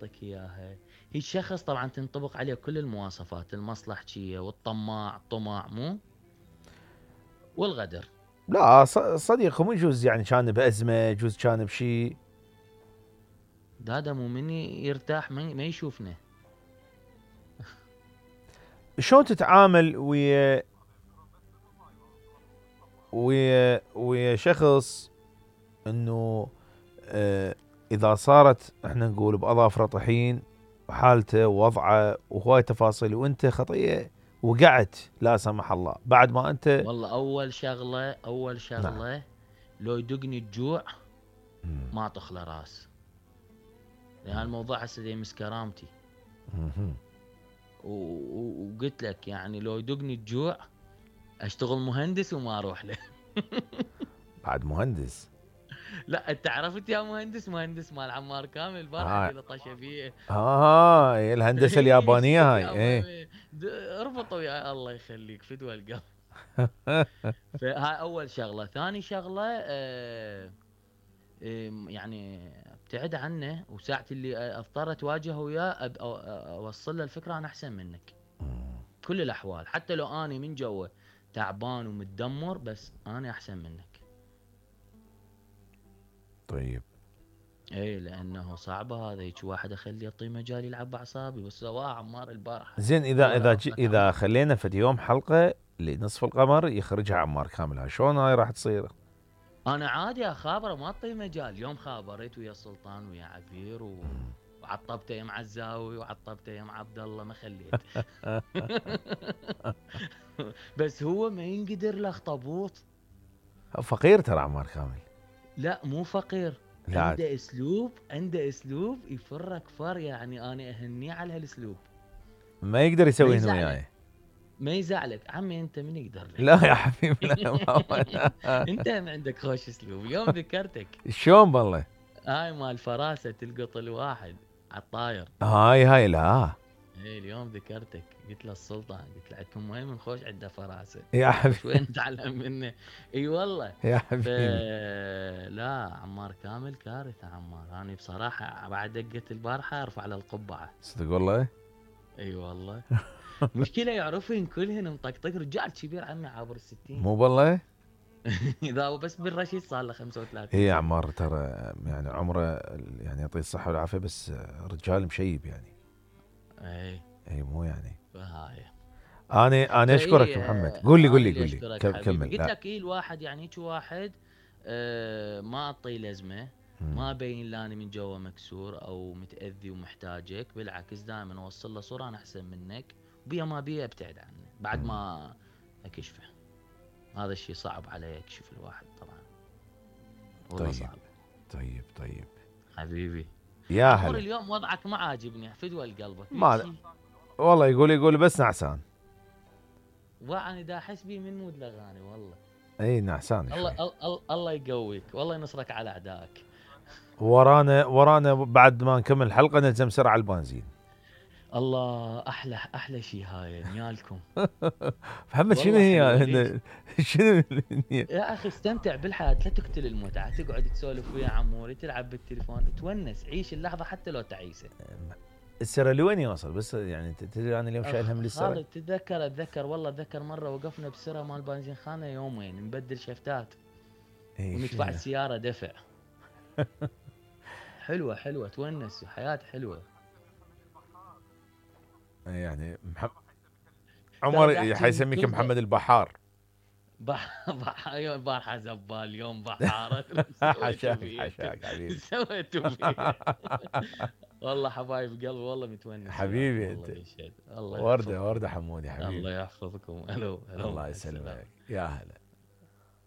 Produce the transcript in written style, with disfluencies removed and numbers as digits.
يعطيك اياها. هي الشخص طبعا تنطبق عليه كل المواصفات، المصلحجية والطماع، طمع مو، والغدر. لا صديق مو يجوز يعني كان بأزمة، يجوز كان بشيء. هذا مو مني يرتاح ما يشوفنا. شلون تتعامل ويا شخص انه اذا صارت احنا نقول باظافره طحين وحالته ووضعه وهواي تفاصيل وانت خطيه وقعت لا سمح الله بعد ما انت. والله اول نعم. شغله لو يدقني الجوع ما تخلى راس، لان الموضوع هسه يمس كرامتي. وقلت لك يعني لو يدقني الجوع اشتغل مهندس وما اروح له. بعد مهندس. لا انت عرفت يا مهندس مال عمار كامل البارحه اللي لطشه فيه. الهندسه اليابانيه هاي ايه. اربطوا يا الله يخليك فدوى القلب. فهاي اول شغله. ثاني شغله يعني ابتعد عنه، وساعة اللي اضطر اتواجه وياه اوصل له الفكره انا احسن منك كل الاحوال، حتى لو اني من جوا تعبان ومتدمر بس انا احسن منك. طيب. اي لانه صعبه هذا هيك واحد اخليه يعطيه مجال يلعب باعصابي، وسواه عمار البارحه. زين اذا خلينا في يوم حلقه لنصف القمر يخرجها عمار كامل، شلون هاي راح تصير؟ انا عادي اخابره ما اعطيه مجال. يوم خابريت ويا سلطان ويا عبير وعطبته يا معزاوي وعطبته يا عبد الله ما خليت. بس هو ما ينقدر له اخطبوط. فقير ترى عمار كامل. لا مو فقير، لا. عنده اسلوب يفرك فر، يعني انا اهنيه على هالاسلوب. ما يقدر يسوي هنا وياي. ما يزعلك عمي، انت من يقدر لك؟ لا يا حبيبي لا. انت ما عندك خوش اسلوب. اليوم ذكرتك شلون والله؟ هاي مال فراسه تلقط الواحد على الطاير. هاي لا. ايه اليوم ذكرتك، قلت له السلطان، قلت له عندكم وين من خوش عنده فراسه يا حبيبي شوي نتعلم منه. اي والله يا حبيبي. لا عمار كامل كارثه عمار. انا بصراحه بعد دقه البارحه ارفع له القبعه. صدق والله. اي والله. مشكله يعرفين كلهن مطقطق، رجال كبير عمي عابر ال60. مو والله. اذا هو بس بالرشيد صار له 35 هي سنه. عمار ترى يعني عمره يعني يعطيه الصحه والعافيه، بس رجال مشيب يعني. اي مو يعني. فهاي انا اشكرك محمد. قول لي كمل. قلت لك الواحد يعني هيك واحد ما اعطيه لزمه، ما ابين لاني من جوا مكسور او متاذي ومحتاجك، بالعكس دائما اوصل له صوره انا احسن منك، بيا ما بيا ابتعد عنه بعد ما اكشفه. هذا الشيء صعب علي يكشف الواحد طبعا. طيب صعب. طيب حبيبي يا هلا. اليوم وضعك ما عاجبني، فدوى لقلبك ما والله يقول بس نعسان. وانا دا احس بي من مود الاغاني والله. اي نعسان. الله يقويك والله ينصرك على اعدائك. ورانا بعد ما نكمل الحلقه نلزم سرعه على البنزين. الله احلى شيء هاي نيالكم. محمد شنو هي شنو يا اخي استمتع بالحياه، لا تقتل المتعه، تقعد تسولف ويا عموري، تلعب بالتليفون، تونس، عيش اللحظه حتى لو تعيسه. السرة لوين يوصل بس يعني تدري انا اليوم شايل هم للسرة. خالد اتذكر والله اتذكر مره وقفنا بسرة مال بنزين خانه يومين نبدل شفتات وندفع السياره دفع. حلوه تونس، حياه حلوه يعني. عمر حيسميك محمد البحار. بارحه زبال اليوم بحاره. حشاك حبيبي. سويتوا فيه. والله حبايب قلبي والله متونس حبيبي انت. ورده حمودي حبيبي. الله يحفظكم. الو الله يسلمك يا هلا.